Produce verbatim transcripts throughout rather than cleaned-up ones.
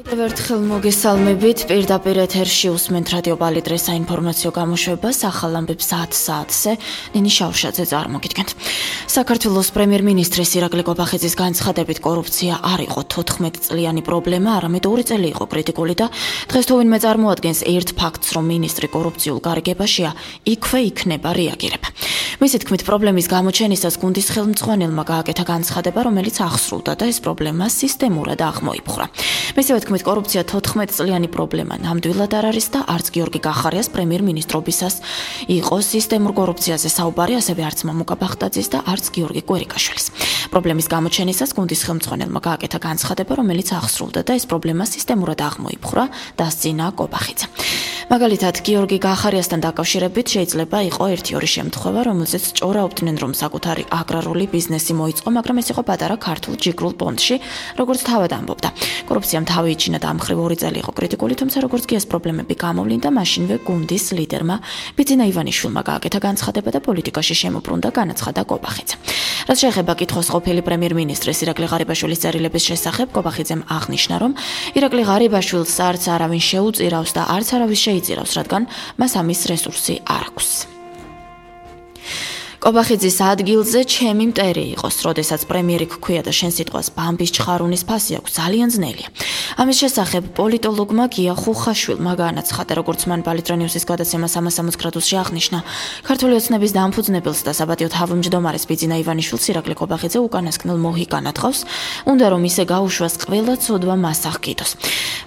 კიდევ ერთხელ მოგესალმებით. პირდაპირ ეთერში უსმენთ რადიო პალიტრის საინფორმაციო გამოშვებას ახალ ამბებს ათ საათზე. ნინი შავშაძე წარმოგიდგენთ. საქართველოს პრემიერ-მინისტრის ირაკლი კობახიძის განცხადებით კორუფცია არ იყო თოთხმეტ წლიანი პრობლემა, არამედ ორი წელი იყო კრიტიკული და დღეს თუ ვინმე წარმოადგენს ერთ ფაქტს, რომ მინისტრი კორუფციულ გარიგებაშია, იქვე იქნება რეაგირება. მისი თქმით, პრობლემის გამოჩენისას გუნდის ხელმძღვანელმა გააკეთა განცხადება, რომელიც ახსრულდა და ეს პრობლემა სისტემურად აღმოიფხვრა. მისივე თქმით, კორუფცია თოთხმეტ წლიანი პრობლემა ნამდვილად არ არის და არც გიორგი გახარიას პრემიერ-მინისტრობისას იყო სისტემურ კორუფციაზე საუბარი, ასევე არც მამუკა ბახტაძის და არც გიორგი კვერიკაშვილის. პრობლემის გამოჩენისას გუნდის ხელმძღვანელმა გააკეთა განცხადება, რომელიც ახსრულდა და ეს პრობლემა სისტემურად აღმოიფხვრა, დასძინა კობახიძე. მაგალითად, გიორგი გახარიასთან დაკავშირებით შეიძლება იყო ერთი-ორი შემთხვევა, რომელზეც ჭორაობდნენ, რომ საკუთარი აგრარული ბიზნესი მოიწყო, მაგრამ ეს იყო პატარა ქართულ ჯიგრულ პონდში, როგორც თავად ამბობდა. კორუფციამ თავი იჩინა და ამ მხრივ ორი წელი იყო კრიტიკული, თუმცა როგორც კი ეს პრობლემები გამოვლინდა, მაშინვე გუნდის ლიდერმა ბიძინა ივანიშვილმა გააკეთა განცხადება და პოლიტიკაში შემოbrunდა, განაცხადა კობახიძე. რაც შეეხება კითხვის ყოფილი პრემიერ-მინისტრის ირაკლი ღარიბაშვილის წერილების შესახებ, კობახიძემ აღნიშნა, რომ ირაკლი ღარიბაშვილს არც არავინ შეუწირავს და არც არავის შეიძირავს, რადგან მას ამის რესურსი არ აქვს. კობახიძის ადგილზე ჩემი მტერი იყოს, როდესაც პრემიერი გქვია და შენ სიტყვას ბამბის ჩხარულის ფასი აქვს, ძალიან ძნელია. ამის შესახებ პოლიტოლოგმა გია ხუხაშვილმა განაცხადა, როგორც მან პალიტრანიუსის გადაცემას სამას სამოცდაოთხ გრადუსში აღნიშნა, ქართული ოცნების დამფუძნებელს და საპატიო თავმჯდომარეს ბიძინა ივანიშვილს ირაკლი კობახიძე უკანასკნელ მოჰიკანად ყავს, უნდა რომ ისე გაუშვას ყველა ცოდვა მას აღკიდოს.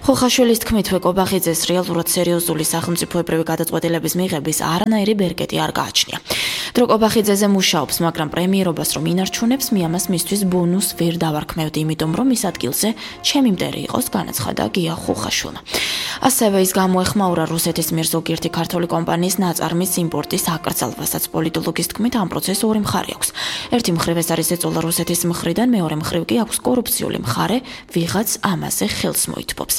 ხუხაშვილის თქმითვე კობახიძეს რეალურად სერიოზული სახელმწიფოებრივი გადაწყვეტილების მიღების არანაირი ბერკეტი არ გააჩნია. დრო კობახიძეზე მუშაობს, მაგრამ პრემიერობას რომ ინარჩუნებს, მე ამას მისთვის ბონუს ვერ დავარქმევდი, იმიტომ რომ ის ადგილზე ჩემი მტერი იყოს, განაცხადა გია ხუხაშვილმა. ასევე ის გამოეხმაურა რუსეთის მიერ ზოგიერთი ქართული კომპანიის ნაწარმის იმპორტის აკრძალვასაც. პოლიტოლოგის თქმით, ამ პროცესს ორი მხარე აქვს. ერთი მხრივ ეს არის ეწოლა რუსეთის მხრიდან, მეორე მხრივ კი აქვს კორუფციული მხარე, ვიღაც ამაზე ხელს მოითბობს.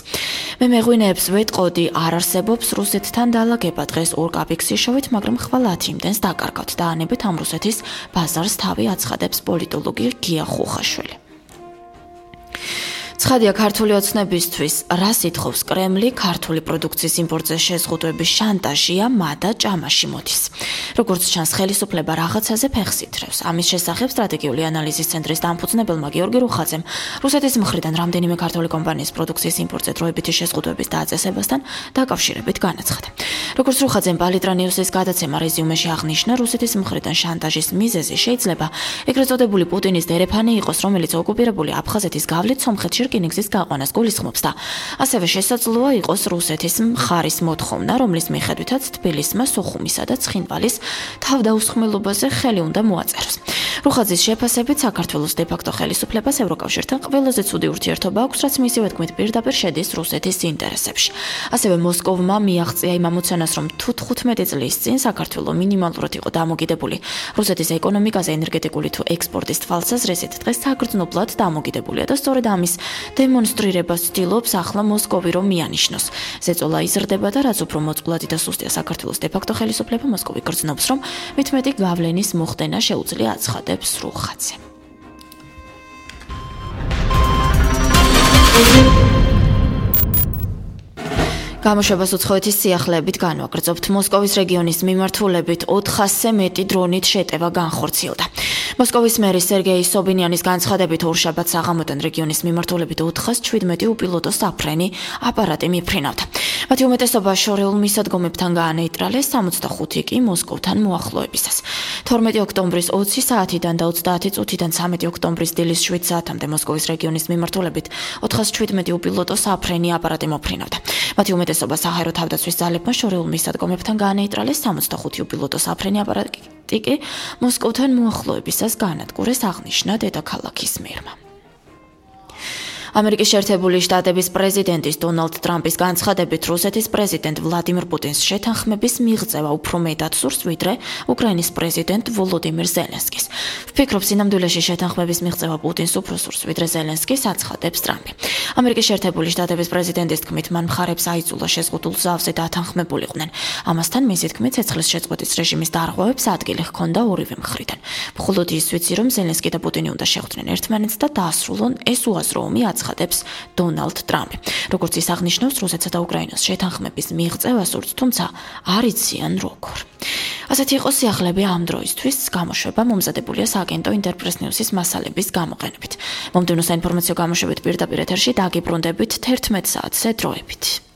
მე მეღვინეებს ვეტყოდი, არ არსებობს რუსეთთან დალაგება, დღეს ორ კაპიქს იშოვით, მაგრამ ხვალ ათი იმდენს დაკარგავთ და ანებით ამ რუსეთის ბაზარს თავი აცხადებს პოლიტოლოგი გია ხუხაშვილი. ცხადია, ქართული ოცნებისთვის რა სიტყვის კრემლი ქართული პროდუქციის იმპორტზე შეზღუდვების შანტაჟია, მადა ჭამაში მოდის. როგორც ჩანს, ხელისუფლება რაღაცაზე ფეხს ითრევს. ამის შესახებ სტრატეგიული ანალიზის ცენტრის დამფუძნებელმა გიორგი რუხაძემ რუსეთის მხრიდან რამდენიმე ქართული კომპანიის პროდუქციის იმპორტზე დროებითი შეზღუდვების დაწესებასთან დაკავშირებით განაცხადა. როგორც რუხაძემ პალიტრანიუსის გადაცემა რეზიუმეში აღნიშნა, რუსეთის მხრიდან შანტაჟის მიზეზი შეიძლება ეგრეთ წოდებული პუტინის დერეფანი იყოს, რომელიც ოკუპირებული აფხაზეთის გავლით სომხეთში რკინიგზის გაყვანას გულისხმობს და ასევე შესაძლოა იყოს რუსეთის მხარის მოთხოვნა, რომლის მიხედვითაც თბილისმა სოხუმისა და ცხინვალის თავდაუსხმელობაზე ხელი უნდა მოაწეროს. რუხაძის შეფასებით, საქართველოს დე-ფაქტო ხელისუფლებას ევროკავშირთან ყველაზე ცუდი ურთიერთობა აქვს, რაც მისივე თქმით პირდაპირ შედის რუსეთის ინტერესებში. ასევე მოსკოვმა მიაღწია იმ ამოცანას, რომ თუ თხუთმეტი წლის წინ საქართველო მინიმალურად იყო დამოკიდებული რუსეთის ეკონომიკაზე, ენერგეტიკული თუ ექსპორტის თვალსაზრისით, დღეს საგრძნობლად დამოკიდებულია და სწორედ ამის დემონსტრირებას ცდილობს ახლა მოსკოვი რომ მიანიშნოს. ზეწოლა იზრდება და რაც უფრო მოწყვლადი და სუსტია საქართველოს დე-ფაქტო ხელისუფლება, მოსკოვი გრძნობს, რომ მით მეტი გავლენის მოხდენა შეუძლია, აცხადებს რუხაძე. გამოშვებას უცხოეთის სიახლეებით განვაგრძობთ. მოსკოვის რეგიონის მიმართულებით ოთხასზე მეტი დრონით შეტევა განხორციელდა. მოსკოვის მერის სერგეი სობინიანის განცხადებით, ორშაბათს საღამოდან რეგიონის მიმართულებით ოთხასი შვიდმეტი უპილოტო საფრენი აპარატი მიფრინავდა. მათი უმეტესობა შორეულ მისადგომებთან გაანეიტრალეს, სამოცდახუთი კი მოსკოვთან მოახლოებისას. თორმეტი ოქტომბრის ოცი საათიდან და ოცდაათი წუთიდან სამეტი ოქტომბრის დილის შვიდ საათამდე მოსკოვის რეგიონის მიმართულებით ოთხასი შვიდმეტი უპილოტო საფრენი აპარატი მოფრინავდა. მათი უმეტესობა საჰაერო თავდაცვის ძალებმა შორეულ მისადგომებთან გაანეიტრალეს, სამოცდახუთი უპილოტო საფრენი აპარატი კი მოსკოვთან მოახლოებისას გაანადგურეს, აღნიშნა დედაქალაქის მერმა. ამერიკის შეერთებული შტატების პრეზიდენტის დონალდ ტრამპის განცხადებით, რუსეთის პრეზიდენტ ვლადიმირ პუტინს შეთანხმების მიღწევა უფრო მეტად სურს, ვიდრე უკრაინის პრეზიდენტ ვოლოდიმირ ზელენსკის. ვფიქრობ, სინამდვილეში შეთანხმების მიღწევა პუტინს უფრო სურს, ვიდრე ზელენსკის, აცხადებს ტრამპი. ამერიკის შეერთებული შტატების პრეზიდენტის თქმით, მან მხარებს აიძულა შეზღუდულ ზავზე დათანხმებულიყვნენ. ამასთან მისი თქმით, ცეცხლის შეწყვეტის რეჟიმის დარღვევებს ადგილი ჰქონდა ორივე მხრიდან. მხოლოდ ის ვიცი, რომ ზელენსკი და პუტინი უნდა შეხვდნენ ერთმანეთს და დაასრულონ ეს უაზრო ომი, აცხადებს დონალდ ტრამპი. როგორც ის აღნიშნავს, რუსეთსა და უკრაინას შეთანხმების მიღწევა სურთ, თუმცა არ იციან როგორ. ასეთი იყო სიახლეები ამ დროისთვის, გამოშვება მომზადებულია სააგენტო ინტერპრეს ნიუსის მასალების გამოყენებით. მომდევნო საინფორმაციო გამოშვებით პირდაპირ ეთერში დაგიბრუნდებით თერთმეტ საათზე დროებით.